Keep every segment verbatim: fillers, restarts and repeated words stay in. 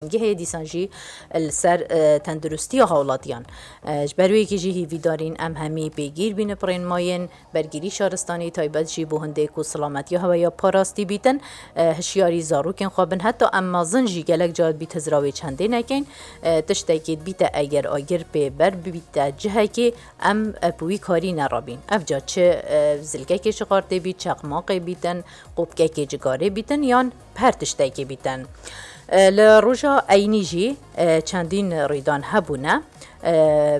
bingehê, dîsan jî li ser, e, tenduristiya hawlatiyan. E, ji ber wê yekê jî hîvîdarîn em hemî pêgîr bîn bi rênmayên bergîrî şaristanî, taybet jî bo hindê ku silametiya hewe ya parastî bîtin, e, hişyarî zarokên xwe bin. Heta em mezin jî gelek cara dibît hizra wê çendê nekin. E, tiştekî dibîte eger agir pê ber bibîte cihekê, em, e, bi wî karî nerabîn. Ev ca çi, e, zilkekê şixartê bît, çeqmaqê bîtin, qopkekê cigarê bîtin yan her tiştekê bîtin. E, li roja eynî jî, e, çendîn rîdan hebûne. E,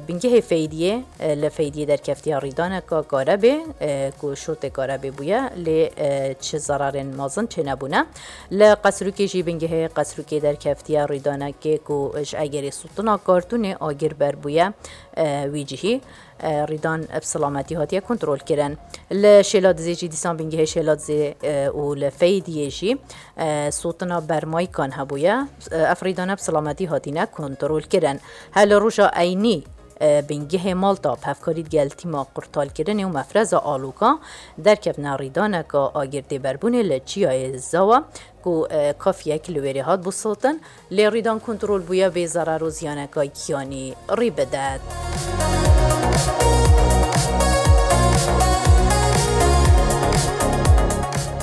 bingehê Feydiyê, e, li Feydiyê derkeftiya rîdaneka karebê, e, ku şortê karebê bûye, lê, e, çi zerarên mezin çênebûne. Li Qesrûkê jî bingehê Qesrûkê derkeftiye rîdanekê ku ji egerê sotina kartûnê agir ber bûye, e, wî cihî. E, rîdan bi silametî hatiye kontrol kirin. Li Şêladizê jî dîsan bingehê Şêladizê, e, û li Feydiyê jî, e, sotina bermaykan hebûye. E, ev rîdane bi silametî hatine kontrol kirin. Her li roja eynî, e, bingehê Malta bi hevkarî digel tîma qurtalkirinê û mefreza Alûka derkevne rîdaneka agir têberbûnê li Çiyayê Zawa ku, e, kafiyek li wêrê hat bû sotin, lê rîdan kontrol bûye bê zerar û ziyaneka giyanî rî bidet.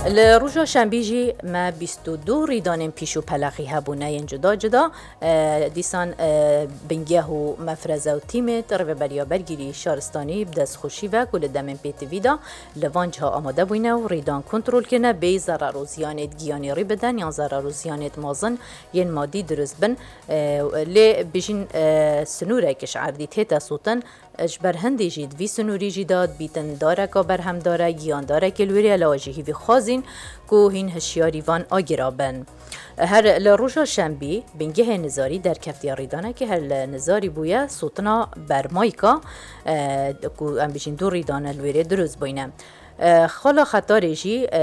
Li roja şembî jî me bîst û du rîdanên pîş û pelexî hebûne yên cuda cuda. E, dîsan, e, bingeh û mefreze û tîmê rêveberiya bergîrî şaristanî bi destxweşî ve ku li demên pêtivî de li van ciha amade bûyne û rîdan kontrol kirine bê zerar û ziyanêt giyanî rî bidin yan zerar û ziyanêt mezin yên madî dirust bin. E, lê bijîn, e, sinûrek ji erdî tête sotin, e, ji ber hindê jî di vî sinûrî jî de dibîtin dareka berhemdar e, giyandarekê li wêrê ye, lewa jî hîvî xwazîn ku hîn hişyarî van agira bin. Her li roja şembî bingehê Nizarî derkeftiye rîdanekê her li Nizarî bûye sotina bermayka, e, ku em bijîn du rîdane li wêrê dirust bûyne. E, xala Xetarê jî, e,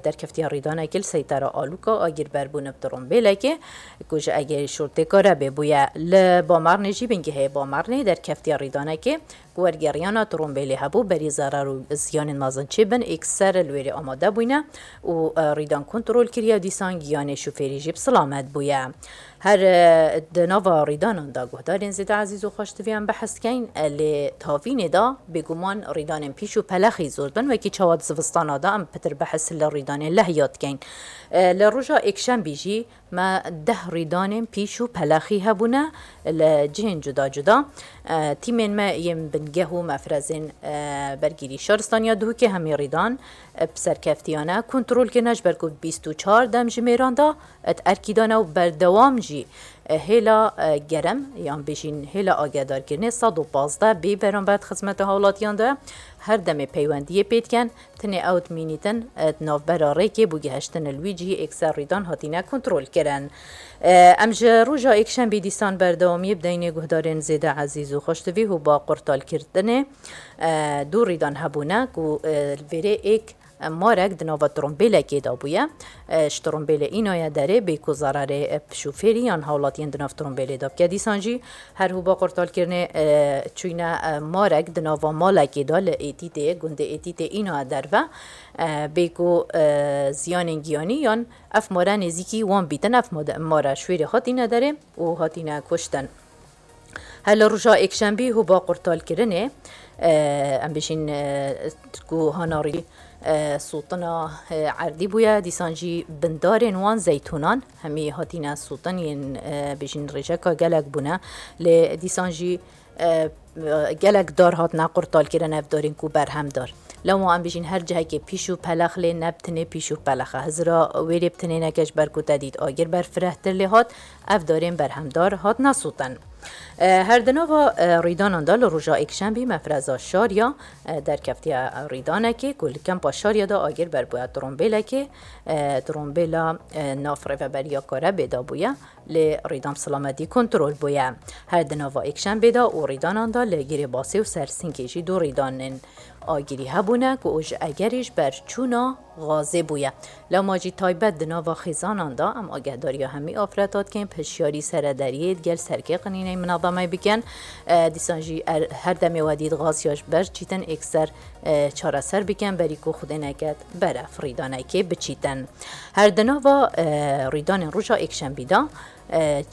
derkeftiye rîdanekê li seytera Alûka agir berbûne bi trombêlekê ku ji egerê şortê karebê bûye. Li Bamernê jî bingehê Bamernê derkeftiye rîdanekê ku wergeriyana trombêlê hebû, berî zerar û ziyanên mezin çêbin, êkser li wêrê amade bûyne û, e, rîdan kontrol kiriye, dîsan giyanê şofêrî jî bi silamet bûye. Her, e, di nava rîdanan de guhdarên zêde ezîz û xweştiviyan behs dikeyn, e, lê tavînê de bêguman rîdanên pîş û pelexî zor bin, wekî çawa di zivistana de em pitir behs li rîdanên lehiya dikeyn. E, li roja êkşembî jî me deh rîdanên pîş û pelexî hebûne li cihên cuda cuda. E, tîmên me yên bingeh û mefrezên, e, bergîrî şaristaniya Duhokê hemî rîdan, e, bi serkeftiyane kontrol kirine, ji ber ku bîst û çar demjimêran de, e, di erkî de ne û berdewam jî, e, hêla, e, germ yan bêjîn hêla agedarkirinê sed û pazdeh bê beramber di xizmeta hawlatiyan de her demê peywendiyê pê dikin. Tenê ew dimînîtin, e, di navbera rêkê bû gihiştin li wî cihî êkser rîdan hatine kontrol kirin. E, em ji roja êkşembî dîsan berdewamiyê bideynê guhdarên zêde ezîz û xweştivî hûba qurtalkirinê, e, du rîdan hebûne ku, e, li vêrê êk, e, marek di nava trombêlekê de bûye. E, ji trombêlê înaye derê bê ku zerarê, e, bi şofêrî yan hawlatiyên di nav trombêlê de bike. Dîsan jî her hûba qurtalkirinê, e, çûyne, e, marek di nava malekê de li Êtîtê, gundê Êtîtê îna derve, e, bê ku, e, ziyanên giyanî yan ev mare nêzîkî wan bîtin, ev made-, mare şwêrê hatîne derê û hatîne kuştin. Her li roja êkşembî hûba qurtalkirinê, e, em bêjîn, e, ku hanarî, e, sotina, e, erdî bûye, dîsan jî bindarên wan zeytûnan hemî hatine sotin yên, e, bêjîn rêjeka gelek bûne. Lê dîsan jî, e, gelek dar hatine qurtalkirin, ev darên ku berhem dar. Lewma em bêjîn her cihekê pîş û pelex lê ne bi tinê pîş û pelex e. Hizira wêrê bi tinê neke ji ber ku te dît agir berfirehtir lê hat, ev darên berhemdar hatine sotin. E, her di nava, e, rîdanan de li roja êkşembî mefreza Şariya, e, derkeftiye rîdanekê ku li kempa Şariya de agir berbûye trombêlekê, e, trombêla, e, nav rêveberiya Karebê de bûye, lê rîdan bi silametî kontrol bûye. Her di nava êkşembê de û rîdanan de li Girêbasê û Sersinkê jî du rîdanên agirî hebûne ku ji egerî ji ber çûna gazê bûye. Lewma jî taybet di nava xêzanan de em agehdariya hemî afreta dikin, bi hişyarî serederiyê digel serkê qinîneyê minezemê bikin. E, dîsan jî er, her demê we dît gaz ya ji ber çîtin êkser, e, çareser bikin, berî ku Xwedê neket berev rîdanekê biçîtin. Her di nava, e, rîdanên roja êkşembî de, e,